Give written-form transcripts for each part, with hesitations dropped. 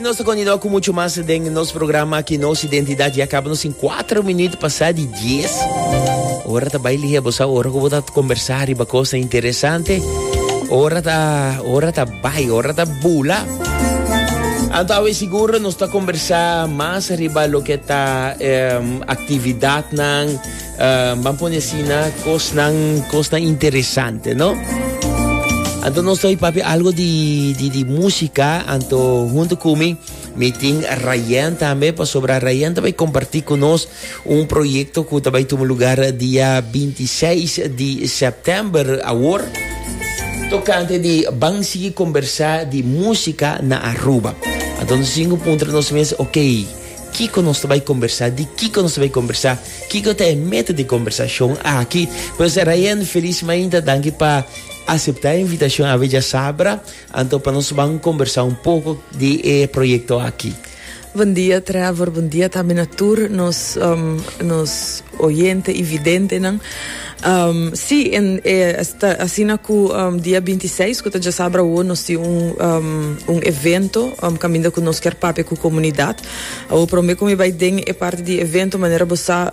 nos ta continua cu mucho mas den nos programa aki Nos Identidad. Ya caba nos in 4 minuut pasa di 10. Ora ta bai lihe, bo sa ora cu bo ta conversa riba cosa interesante. Ora ta bai, ora ta bula. Anto awe sigur nos ta conversa mas riba loke ta actividadnan, ban pone asina, cosnan interesante, no? Anto nos ta papia algo di musica, anto hunto cu mi, mi tin Ryan tambe, pasobra Ryan tambe comparti cu nos un proyecto cu tambe tuma lugar dia 26 di september awor, tocante di ban sigui conversa di musica na Aruba. Anto nos tin cu puntra nos mes, ok, kico nos ta bay conversa, di kico nos ta bay conversa, kico ta e meta di conversacion aki. Pues Ryan, feliz mainta, danki pa acepta e invitacion awe diasabra, anto pa nos ban conversa un poco di e proyecto aki. Bon dia, Trevor. Bon dia tambe na tur nos oyente y videntenan. Si, asina cu dia 26, cu ta diasabra awo, nos tin un evento caminda cu nos kier papia cu comunidad. Awo prome cu mi bay den e parti di evento, manera bo sa,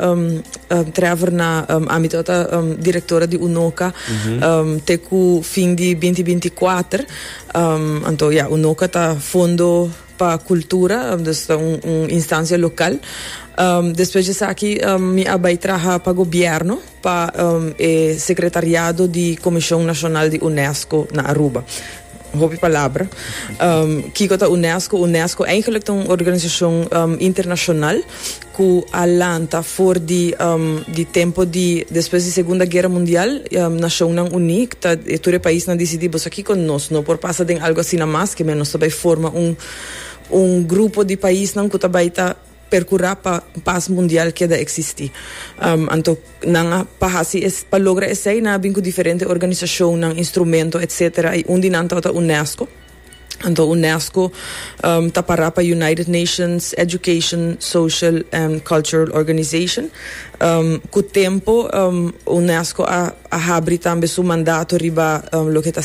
Trevor, ami ta directora di UNOCA te cu fin di 2024. Anto, ja, UNOCA ta Fondo pa Cultura, dus un instancia local. Despues di esaki, mi a bay traha pa gobierno, pa e secretariado di Comision Nacional di UNESCO na Aruba. Hopi palabra. Kico ta UNESCO? UNESCO eigenlijk ta un organisacion internacional cu a lanta for di tempo di despues di Segunda Guera Mundial. Nacionnan Uni, ta tur e paisnan dicidi, bo sa kico, nos no por pasa den algo asina mas, ke men nos ta bay forma un grupo di paisnan cu ta bay ta percura pa paz mundial keda existi. Anto nan a pa hasi es, pa logra esey nan a bin cu diferente organisacionnan, instrumento, etc. Y un di nan tabata UNESCO. Anto UNESCO ta para pa United Nations Education, Social and Cultural Organization. Cu tempo UNESCO a habri tambe su mandato riba loke ta